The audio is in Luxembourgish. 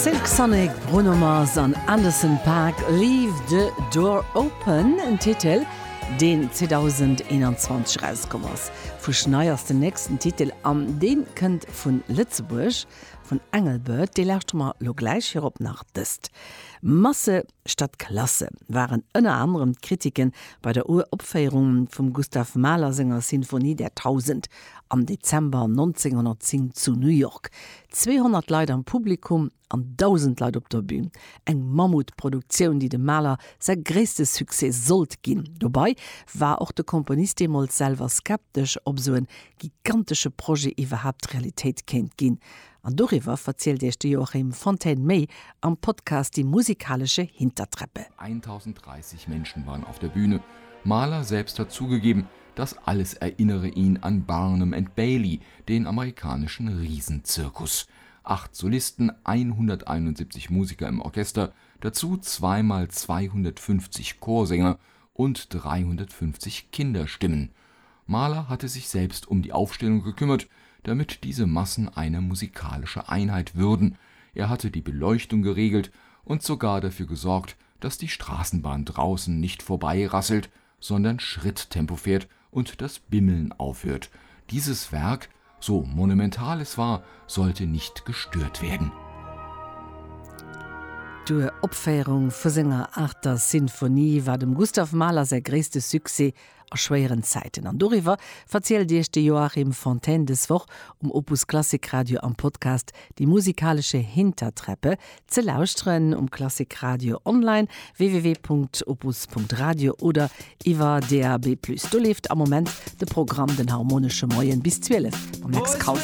Silk Sonic, Bruno Mars an Anderson .Paak, Leave the Door Open, en Titel, deen 2021 erauskomm ass. Fuschnei ass den nächsten Titel an dee kënnt vu Lëtzebuerg, vun Engelbert. Dee lauschtere mer lo gläich. Virop nach dëst, Masse statt Klasse waren ënner anerem d'Kritiken bei der Uropféierung vum Gustav Mahler senger Sinfonie der Tausend am Dezember 1910 zu New York. 200 Leit am Publikum an 1.000 Leit op der Bün. Eng Mammutproduktioun, déi dem Mahler säi gréisste Succès sollt ginn. Dobei war och de Komponist deemools selwer skeptesch, ob esou en gigantesche Projet iwwerhaapt Realitéit kéint ginn. An doriwwer verzielt Iech de Joachim Fontaine méi am Podcast Die musikalische Hintertreppe. 1030 Menschen waren auf der Bühne. Mahler selbst hat zugegeben, das alles erinnere ihn an Barnum and Bailey, den amerikanischen Riesenzirkus. Acht Solisten, 171 Musiker im Orchester, dazu zweimal 250 Chorsänger und 350 Kinderstimmen. Mahler hatte sich selbst um die Aufstellung gekümmert, damit diese Massen eine musikalische Einheit würden. Er hatte die Beleuchtung geregelt und sogar dafür gesorgt, dass die Straßenbahn draußen nicht vorbeirasselt, sondern Schritttempo fährt und das Bimmeln aufhört. Dieses Werk, so monumental es war, sollte nicht gestört werden. D'Uropféierung vu senger aachter Sinfonie war dem Gustav Mahler säi gréisste Succès a schwéieren Zäiten. An doriwwer verzielt Iech de Joachim Fontaine des Woch um Opus Klassik Radio am Podcast Die musikalische Hintertreppe, ze lauschteren um Klassik Radio online, www.opus.radio oder iwwer DAB+. Do leeft am Moment de Programm Den harmonesche Moien bis 12 mam Lex Kraus.